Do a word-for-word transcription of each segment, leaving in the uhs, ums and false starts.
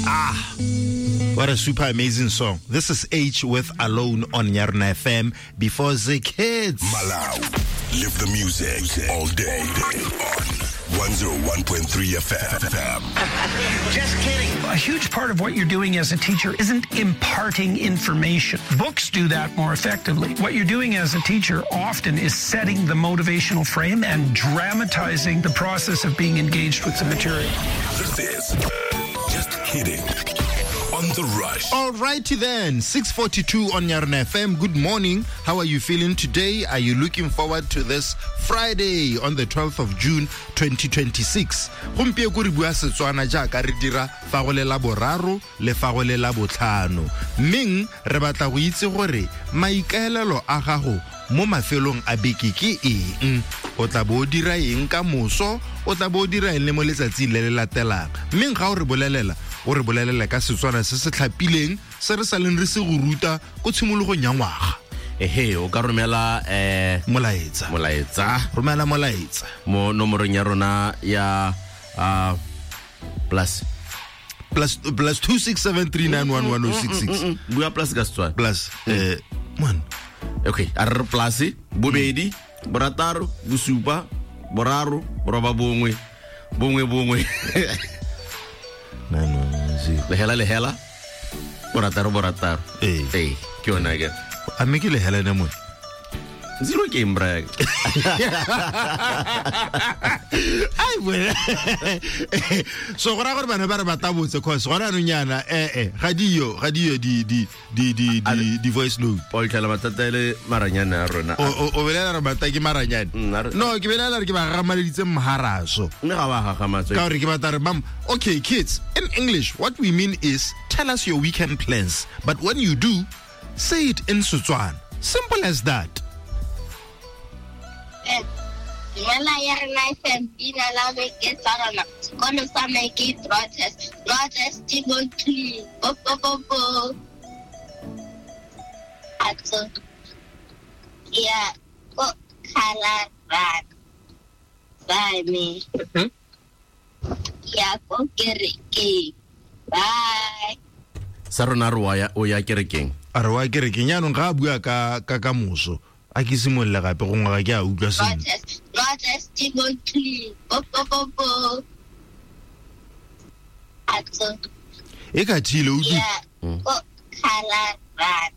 Ah, what a super amazing song. This is Aitch with Alone on Yarona F M before the kids. Malau, live the music all day on one oh one point three F M. Just kidding. A huge part of what you're doing as a teacher isn't imparting information. Books do that more effectively. What you're doing as a teacher often is setting the motivational frame and dramatizing the process of being engaged with the material. This is Just Kidding on The Rush. All righty then, six forty-two on Yarona F M. Good morning. How are you feeling today? Are you looking forward to this Friday on the twelfth of June twenty twenty-six? Gompieno re bua Setswana jaaka re dira fa go le la boraro le fa go le la botlhano. Mmeng re batla go itse gore maikaelelo a gago mo mafelong a beke ke eng? O tla bo o dira eng ka moso? O tla bo o dira eng le mo letsatsing le le latelang? Mmeng ga o re bolelela, o re bolelela ka Setswana se se tlhapileng se re saleng re se go ruta ko tshimologong ya ngwaga. Ehe, o ka romela eh molaetsa. Molaetsa. Romela molaetsa mo nomorong ya rona ya uh, plus plus plus two six seven three nine one one oh six six. Bua plus ka Setswana. Plus eh man. Okay, a re plus bobedi borataro bosupa boraro boroba bongwe bongwe bongwe. nine one zero. Lehela lehela borataro borataro. Eh. Eh, ke yona ke. A mme ke lehela ne mo. Zero ke mbra. Ai wena. So go ra gore bana ba re ba tabotse cause gona no nyana eh eh ga dio ga dio di di di di di di voice note. O itlhela mathata ele maranyane a rona. O o belela re bata ke maranyane. No, ke belela re ke ba gagamaditse mharaso. Mme ga ba gagamatse. Ka gore ke batla re mam, okay kids, in English what we mean is tell us your weekend plans, but when you do, say it in Setswana. Simple as that. Dumela ya rena F M, leina la me ke Sarona. Sekolo sa me ke Broadhurst. Broadhurst di mo tlung. Po, po, po, po. Atso. Ya ko Khalarana. Bye me. Ya ko kerekeng. Bye. Sarona re wa ya o ya kerekeng. A re wa kerekeng yaanong ga a bua ka ka ka moso. A ke simolola gape go ngwaga ke a utlwa sentle. Broadhurst di mo tlung. Po, po, po, po. Atso. E ka thile o utlwe. Ya ko Khalarana.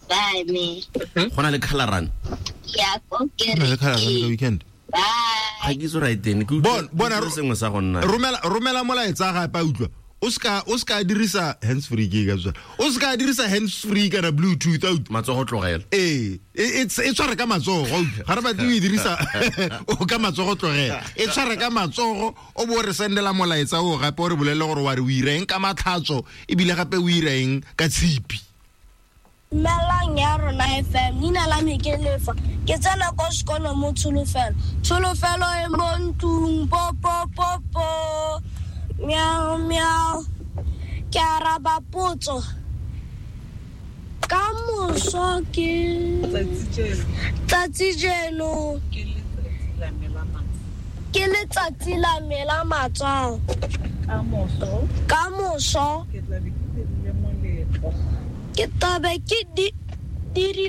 Bye me. Go na le Khalarana. Ya ko Go na le Khalarana ka kerekeng. weekend. Bye. Ga ke itse right teng. Ke Bon, bona utlwa sengwe sa go nna. Romela romela molaetsa gape a utlwa. O ska o ska dirisa hands free ke ka tswa. O ska dirisa hands free kana bluetooth out. Matsogo tlogela. Eh, e e tshware ka matsogo. Ga re batle o e dirisa o ka matsogo tlogela. E tshware ka matsogo o bo re sendela molaetsa o gape o re bolelle gore wa re o ireng ka matlhatso ebile gape o ireng ka tshipi. Dumelang ya rona F M, leina la me ke Lefa. Ke tsena ko sekolo mo Tsholofelo. Tsholofelo e mo ntlung, po po po po. Miau miau. Ke araba potso. Ka moso ke tsatsi jeno. Ke letsatsi la me la matswalo. Ka moso. Ka moso. Ke tla be ke dirile moletlo. Ke tla be ke di dirile